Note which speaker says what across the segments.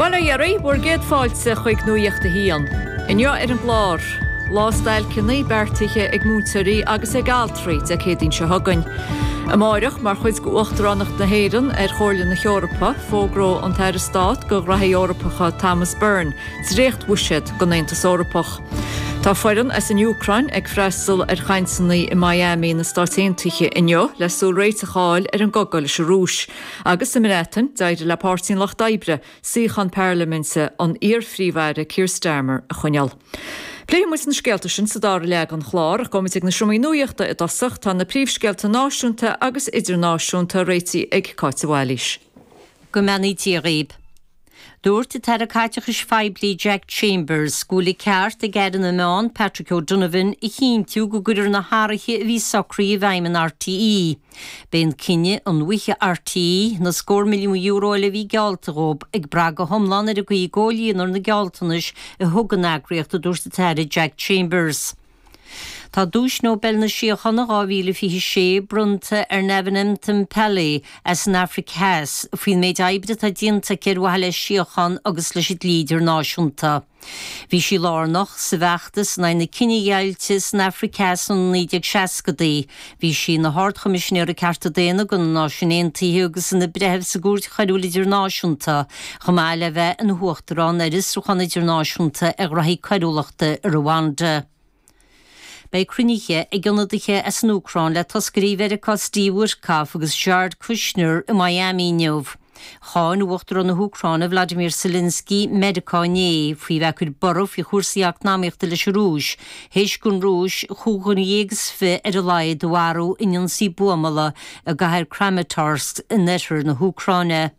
Speaker 1: Bail ó Dhia oraibh, bhur gcéad fáilte chuig Nuacht a hAon. Inniu ar an gclár, lá stailceanna beartaithe ag múinteoirí agus ag altraí Dé Céadaoin seo chugainn. Amáireach, mar chuid d'Uachtaránacht na hÉireann ar Chomhairle na hEorpa, fógróidh an tAire Stát do Ghraithí Eorpacha Thomas Byrne dréachtbhuiséad don Aontas Eorpach. Tá foireann as an Úcráin ag freastal ar chainteanna i Miami na Stáit Aontaithe inniu le súil réiteach a fháil ar an gcogadh leis an Rúis. Agus sa mBreatain, d'éirigh le Páirtí an Lucht Oibre suíochán parlaiminte an iar-Phríomh-Aire Keir Starmer a choinneáil. Pléifidh muid na scéalta sin sa dara leath den chlár ach gabhfaidh muid ag na seomraí nuachta i dtosach. Tá na príomhscéalta náisiúnta agus idirnáisiúnta réitithe ag Cáit de Bhailís.
Speaker 2: Go mbeannaí Dia dhaoib. Dúirt an tAire Caiteachais Phoiblí Jack Chambers go bhfuil an ceart ag Aire na Meán Patrick O'Donovan a chinntiú go gcuirfear na hathruithe a bhí socraithe i bhfeidhm in RTÉ. Beidh an cinneadh an bhfaighidh RTÉ na scór milliún euro eile a bhí geallta dhóibh ag brath go hiomlán ar an gcaoi a gcomhlíonfar na gealltanais a thug an eagraíocht, a dúirt an tAire Jack Chambers. Tá Duais Nobel na Síochána 2026 bronnta ar Navin Mthimphele as an Afraic Theas faoin méid oibre atá déanta aici ar mhaithe le síocháin agus leis an dlí idirnáisiúnta. Bhí sí lárnach sa bhfeachtas in aghaidh na cinedheighilte san Afraic Theas sna 1960idí. Bhí sí ina hArd-Choimisinéir Cearta Daonna do na Náisiúin Aontaithe agus ina breitheamh sa gCúirt Choiriúil Idirnáisiúnta, chomh maith le bheith ina huachtarán ar Fhiosrúchán Idirnáisiúnta ar Ghraithí Coiriúlachta i Rwanda. Beidh cruinnithe ag ionadaithe as an Úcráin le toscairí Mheiriceá Steve Witkoff agus Jared Kushner i Miami inniu. Cháin Uachtarán na hÚcráine Vladimir Zelensky Meiriceá inné faoi bheith ag cur borradh faoi chúrsaí eacnamaíochta leis an Rúis théis don Rúis 25 ar a laghad a mharú in ionsaí buamála i gcathair Kramatorsk in oirthear na hÚcráine.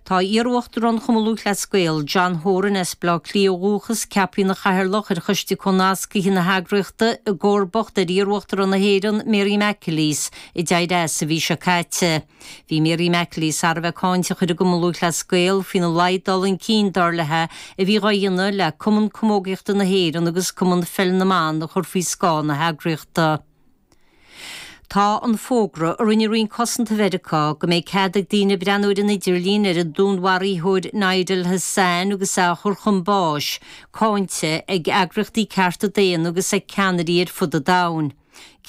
Speaker 2: Tá iar-Uachtarán Chumann Lúthchleas Gael, John Horan as Baile Átha Cliath ó dhúchas, ceaptha ina chathaoirleach ar Choiste Comhnascaithe na heagraíochta i gcomharbacht ar iar-Uachtarán na hÉireann, Mary McAleese, a d'éirigh as an mhí seo caite. Bhí Mary McAleese thar a bheith cáinteach ar an gCumann Lúthchleas Gael faoina laghad dul chun cinn, dar léi, a bhí dhá dhéanamh le Cumann Camógaíochta na hÉireann agus Cumann Pheil na mBan a chur faoi scáth na heagraíochta. Tá an fógra a rinne Roinn Cosanta Mheiriceá go mbeidh cead ag daoine breathnú ar an idirlíon ar an dúnmharaítheoir Nidal Hasan agus é á chur chun báis, cáinte ag eagraíochtaí cearta daonna agus ag ceannairí ar fud an domhain.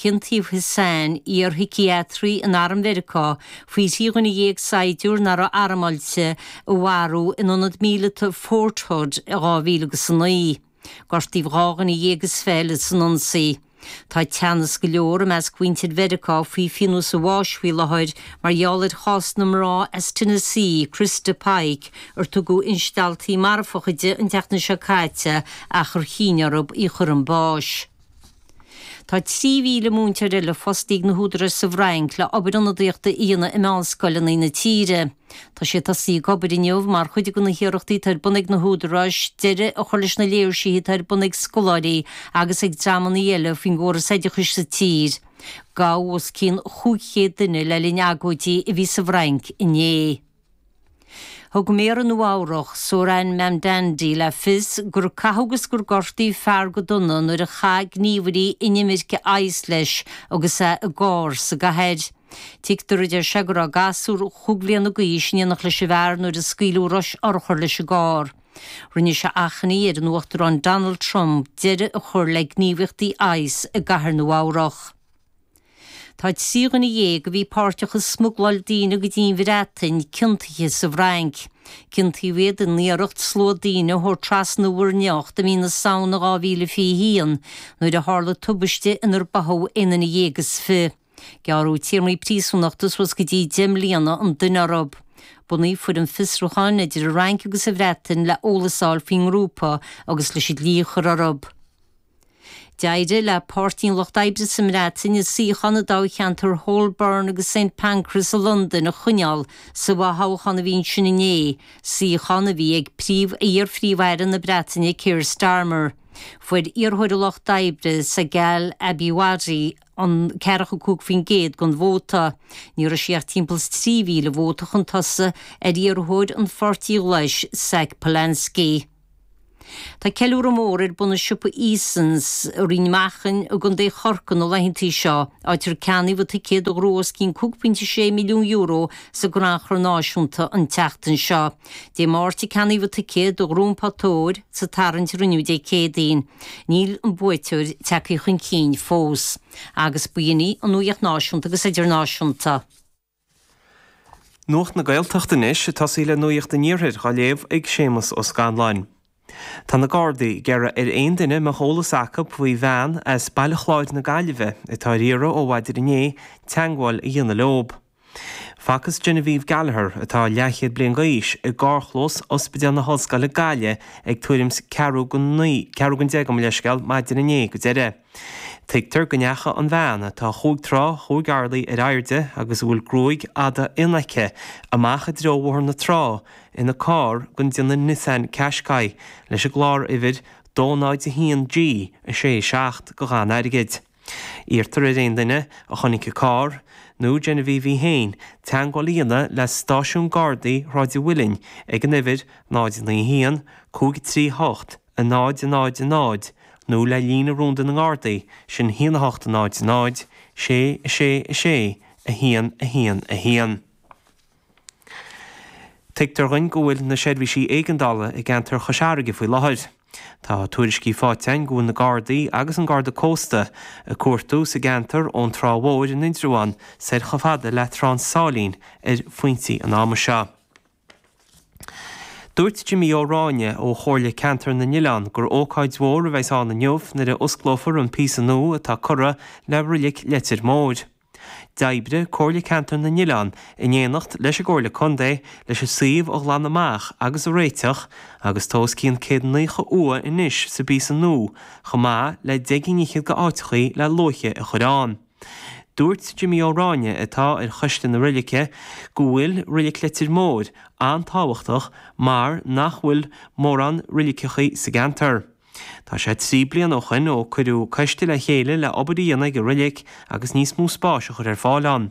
Speaker 2: Ciontaíodh Hasan, iar-shíciatraí in arm Mheiriceá, faoi thrí dhuine dhéag saighdiúir nach raibh armáilte a mharú in ionad míleata Fort Hood i 2009. Gortaíodh 12 dhuine eile san ionsaí. Tá teannas go leor i measc mhuintir Mheiriceá faoi phionós an bháis faoi láthair mar gheall ar chás na mná as Tennessee, Christa Pike, ar tugadh instealltaí marfacha di an tseachtain seo caite ach ar chinn orthu í a chur chun báis. Tá 3,000 múinteoir eile fostaithe ag na húdaráis sa bhFrainc le obair ionadaíochta a dhéanamh i meánscoileanna na tíre. Tá siad tosaithe ag obair inniu mar chuid de na hiarrachtaí atá ar bun ag na húdaráis deireadh a chur leis na léirsithe atá ar bun ag scoláirí agus ag dreamanna eile faoin gcóras oideachais sa tír. Gabhadh os cionn 500 duine le linn agóidí a bhí sa bhFrainc inné. Thug Méara Nua Eabhrach, Zohran Mamdani le fios gur caitheadh agus gur gortaíodh fear go dona nuair a chaith gníomhairí inimirce ICE leis agus é i gcarr sa gcathair. Tuigtear, a deir sé, go raibh gasúr chúig bhliana d'aois in éineacht leis an bhfear nuair a scaoileadh rois urchar leis an gcarr. Rinne sé achainí ar an Uachtarán Donald Trump deireadh a chur le gníomhaíochtaí ICE i gcathair Nua Eabhrach. Tá 13 dhuine a bhí páirteach i smugláil daoine go dtí an Bhreatain ciontaithe sa bhFrainc. Ciontaíodh iad in iarracht slua daoine a thabhairt trasna Mhuir nIocht i mí na Samhna 2021 nuair a tharla tubaiste inar báthadh 21 duine. Gearradh téarmaí príosúnachta suas go dtí 10 mbliana an duine orthu. Bunaíodh foireann fiosrúcháin idir an Fhrainc agus an Bhreatain le eolas a fháil faoin ngrúpa agus leis an dlí a chur orthu. D'éirigh le Páirtí an Lucht Oibre sa mBreatain a suíochán i dtoghcheantar Holborn agus St Pancras i Londain a choinneáil sa bhfothoghchán a bhí ansin inné, suíochán a bhí ag príomh iar-Phríomh-Aire na Breataine Keir Starmer. Fuair iarrthóir an Lucht Oibre, Segal Abiwadi, an 45% den vóta. Ní raibh sí ach timpeall is 3,000 vóta chun tosaigh ar iarrthóir an Pháirtí Ghlais, Zack Polanski. Tá ceiliúradh mór ar bun i siopa Easons i Rinn Mhachan i gContae Chorcaí na laethanta seo, áit ar ceannaíodh ticéad do ghnóthú os cionn €5.6 milliún sa gcrannchur náisiúnta an tseachtain seo. Dé Máirt a ceannaíodh ticéad do ghnó an pota óir sa tarraingt a rinneadh Dé Céadaoin. Níl an buaiteoir tagtha chun cinn fós. Agus b'in í an nuacht náisiúnta agus idirnáisiúnta.
Speaker 3: Nuacht na Gaeltachta anois, ag tosaí le Nuacht an Iarthair dhá léamh ag Séamus Ó Scanláin. Tá na Gardaí ag iarraidh ar aon duine a mbeadh eolas acu faoi bhean as Baile Chláir na Gaillimhe atá ar iarraidh ó mhaidin inné teagmháil a dhéanamh leob. Facthas Genevieve Gallagher, atá leathchéad bliain d'aois, i gcarrchlós Ospidéal na hOllscoile Gaillimh ag tuairim 's ceathrú go naoi, ceathrú don deich gabh mo leithscéal, maidin inné go deireadh. Tuigtear go ndeachaigh an bhean, atá chúig troigh chúig orlaí ar airde agus a bhfuil gruaig fhada fhionn aici, amach i dtreo Bhóthar na Trá ina carr den déanamh Nissan Qashqai leis an gclár-uimhir 201 G 6 7 go ghann airgid. Iarrtar ar aon duine a chonaic an carr, nó Genevieve í féin, teagmháil a dhéanamh le Stáisiún Gardaí Shráid an Mhuilinn ag an uimhir 0 9 1 5 3 8 0 0 0 nó le líne rúnda na nGardaí, sin 1 8 0 0 6 6 6 1 1 1. Tuigtear dhuinn go bhfuil na seirbhísí éigeandála i gceantar Chois Fharraige faoi láthair. Tá tuairiscí faighte againn go bhfuil na Gardaí agus an Garda Cósta ag cuartú sa gceantar ón Trá Mhóir in Indreabhán soir chomh fada le Trá an tSáilín ar phointí an ama seo. Dúirt Jimí Ó Ráinne ó Chomhairle Ceantar na nOileán gur ócáid mhór a bheas ann inniu nuair a osclófar an píosa nua atá curtha le Roilic Leitir Móir. D'oibrigh Comhairle Ceantar na nOileán in éineacht leis an gComhairle Contae leis an suíomh a ghlanadh amach agus a réiteach agus tá os cionn 190 uaigh anois sa bpíosa nua chomh maith le deich gcinn fhichead de áiteachaí le luaithe a chur ann. Dúirt Jimí Ó Ráinne, atá ar choiste na roilice, go bhfuil Roilic Leitir Móir an-tábhachtach mar nach bhfuil mórán roiliceachaí sa gceantar. Tá sé 3 bliana ó shoin ó cuireadh coiste le chéile le obair a dhéanamh ag an roilic agus níos mó spáis a chur ar fáil ann.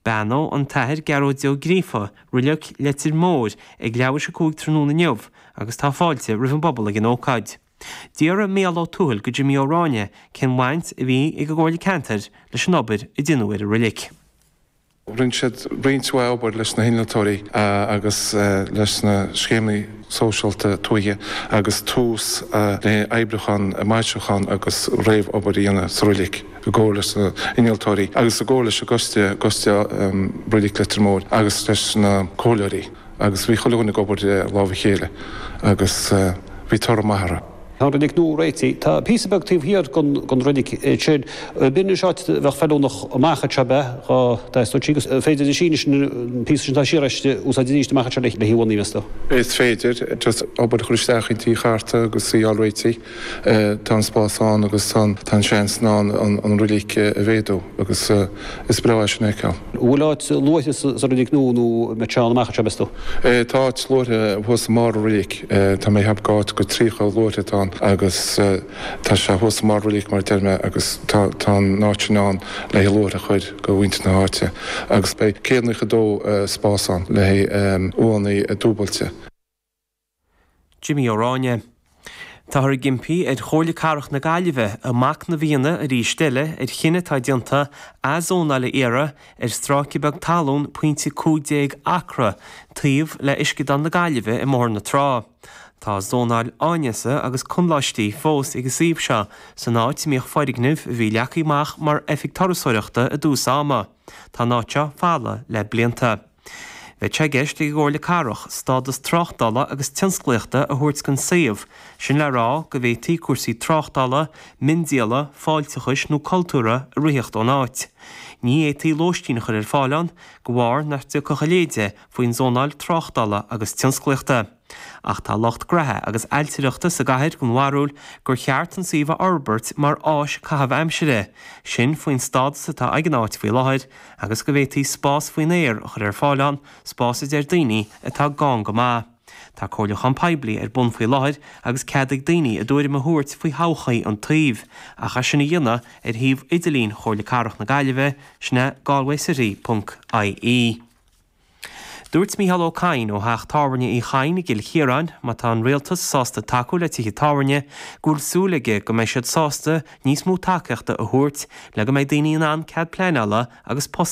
Speaker 3: Beannóidh an tAthair Gearóid Ó Gríofa Roilic Leitir Móir ag leathuair tar éis a 5 tráthnóna inniu agus tá fáilte roimh an bpobal ag an ócáid. D'fhiafraigh Mícheál Ó Tuathail go Jimí Ó Ráinne cén bhaint a bhí ag an gComhairle Ceantair leis an obair a deineadh ar an roilic.
Speaker 4: Rinne siad roinnt mhaith obair leis na hinnealtóirí agus leis na scéimeanna sóisialta tuaithe agus tús le oibriúchán, maisiúchán agus réamh-obair a dhéanamh sa roilic i gcomhar leis na hinnealtóirí agus i gcomhar leis an gcoiste, Coiste Roilic Leitir Móir agus leis na comhairleoirí. Agus bhí chuile dhuine ag obair le lámh a chéile agus bhí toradh maith orthu.
Speaker 5: Tá an roilic nua réitithe. Tá píosa beag taobh thiar den roilic sin. B'in anois áit a bheadh feiliúnach amach anseo ab ea, dhá dteastódh sí, agus an féidir leis an píosa sin atá siar aisti a úsáid arís amach anseo le haghaidh uanna, meas tú?
Speaker 4: Is féidir, just obair a chur isteach inti a chartadh agus í a fháil réitithe. Tá an spás ann agus tá an seans ann an roilic a mhéadú agus is breá é sin a fheiceáil.
Speaker 5: An bhfuil áit luaithre sa roilic nua nó an mbeidh sé ann amach anseo, meas tú?
Speaker 4: Tá áit luaithre thuas i mbarr an roilic. Tá mé ag ceapadh gur áit go 30 luaithre atá ann agus tá sé thuas i mbarr an roilic mar a deir mé agus tá an áit sin ann le haghaidh luaithre a chur go mhuintir na háite agus beidh 192 spás ann le haghaidh uaigheanna dúbailte.
Speaker 3: Jimí Ó Ráinne. Táthar ag impí ar Chomhairle Cathrach na Gaillimhe a machnamh a dhéanamh arís eile ar chinneadh atá déanta athzónáil a iarraidh ar stráice beag talún pointe 15 acra taobh le Uisceadán na Gaillimhe i mBóthar na Trá. Tá zónáil áineasa agus conláistí fós ag an suíomh seo san áit a mbíodh foirgneamh a bhí leagtha amach mar oifig turasóireachta i dtús ama. Tá an áit seo folamh le blianta. Bheadh sé i gceist ag an gComhairle Cathrach stádas tráchtála agus tionsclaíochta a thabhairt don suíomh, sin le rá go bhféadfaí cúrsaí tráchtála, miondíola, fáilteachais nó cultúrtha a ritheacht ón áit. Ní fhéadfaí lóistín a chur ar fáil ann, de bharr nach dtiocfadh a leithéid de faoin zónáil tráchtála agus tionsclaíochta. Ach tá lucht graithe agus ailtireachta sa gcathair den bharúil gur cheart an suíomh a fhorbairt mar áis caitheamh aimsire, sin faoin stádas atá ag an áit faoi láthair, agus go bhféadfaí spás faoin aer a chur ar fáil ann, spás a deir daoine atá gann go maith. Tá comhairliúchán poiblí ar bun faoi láthair agus cead ag daoine a dtuairim a thabhairt faoi thodhchaí an tsuímh, ach é sin a dhéanamh ar shuíomh idirlín Chomhairle Cathrach na Gaillimhe, sin é galwaycity ponc ie. Dúirt Mícheál Ó Cadhain ó theach tábhairne Uí Chadhain i gCill Chiaráin, má tá an Rialtas sásta tacú le tithe tábhairne, go bhfuil súil aige go mbeidh siad sásta níos mó tacaíochta a thabhairt le go mbeidh daoine in ann cead pleanála agus post.